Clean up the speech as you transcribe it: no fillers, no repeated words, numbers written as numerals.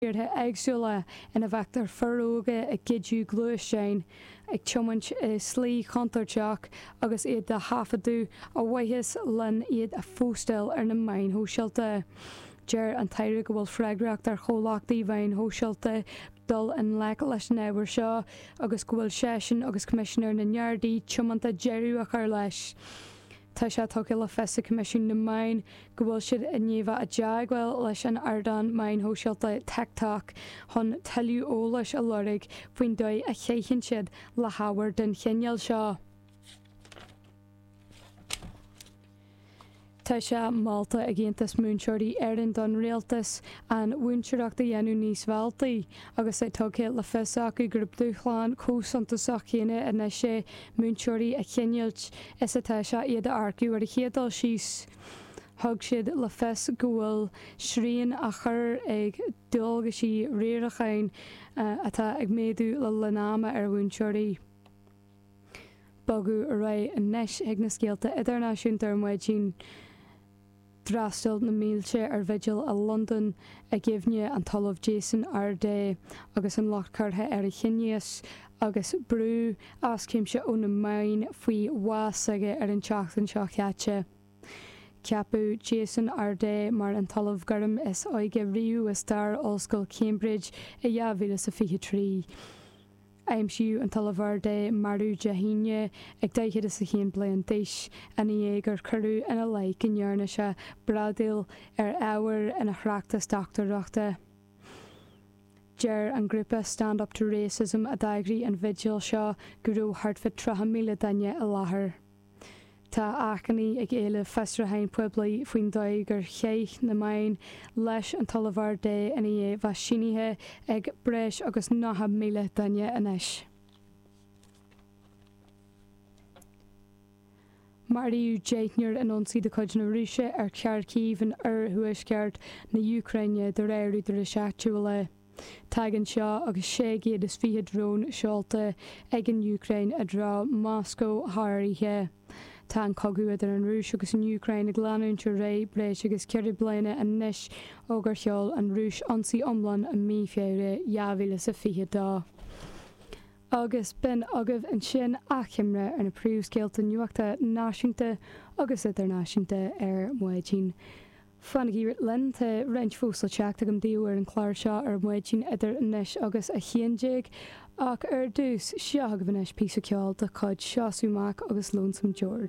Tíortha éagsúla ina bhfeictear fir óga ag goideadh gluaisteáin, ag tiomáint i slí chontúirteach agus iad á thaifeadadh a bhuíochas len iad a phóstáil ar na meáin shóisialta. Deir an tAire go bhfuil freagracht ar chomhlachtaí mheáin shóisialta dul i ngleic leis an ábhar seo agus go bhfuil seisean agus Coimisinéir na nGardaí tiomanta deireadh a chur leis. Tá sé tugtha le fios ag Coimisiún na Meán go bhfuil siad i ndiaidh bheith i dteagmháil leis an ardán meáin shóisialta TikTok chun tuilleadh eolais a lorg faoin dóigh a chaitheann siad le hábhar den chineál seo. Tá sé molta ag Aontas Múinteoirí Éireann don Rialtas an mhúinteoireacht a dhéanamh níos mealltaí agus é tugtha le fios acu gurb dúshlán chomh suntasach céanna anois é múinteoirí a choinneáilt is atá sé iad a earcú ar an chéad dul síos. Thug siad le fios go bhfuil srian á chur ag dualgaisí riaracháin atá ag méadú le linn ama ar mhúinteoirí. Bogadh ar aghaidh anois chuig na scéalta idirnáisiúnta ar maidin. D'fhreastail na mílte ar bhigil i Londain i gcuimhne an tOllamh Jason Arday agus an locht curtha ar a chiníochas agus brú as cuimse ó na meáin faoi bhás s'aige ar an tseachtain seo chaite. Ceapadh Jason Arday mar an tOllamh Gorm is óige riamh i stair Ollscoil Cambridge i 2023. Aimsíodh an tOllamh Arday marbh Dé hAoine ag 41 bliain d'aois ina dhiaidh gur cuireadh ina leith go ndearna sé bradaíl ar ábhar ina thráchtas dochtúireachta. Deir an grúpa Stand Up To Racism a d'eagraigh an bhigil seo go raibh thart fá 30,000 duine i láthair. Tá achainí ag éileamh fiosrúcháin poiblí faoin dóigh gur chaith na meáin leis an tOllamh Arday ina dhiaidh bheith sínithe ag breis agus 90,000 duine anois. Maraíodh deichniúr in ionsaí de chuid na Rúise ar Kharkiv in oirthuaisceart na hÚcráine, de réir údaráis áitiúla. Tagann seo agus 620 drón seolta ag an Úcráin i dtreo Moscó thar oíche. Tá an cogadh idir an Rúis agus an Úcráin ag leanúint ar aghaidh breis agus 4 bliana anois ó gur sheol an Rúis ionsaí iomlán i mí Feabhra 2022. Agus b'in agaibh ansin achoimre ar na príomhscéalta nuachta náisiúnta agus idirnáisiúnta ar maidin. Fanaigí linn, tá roinnt fós le teacht agam daoibh ar an chlár seo ar maidin idir anois agus 11, ach ar dtús, seo agaibh anois píosa ceoil de chuid Seosamh Mac agus Lonesome George.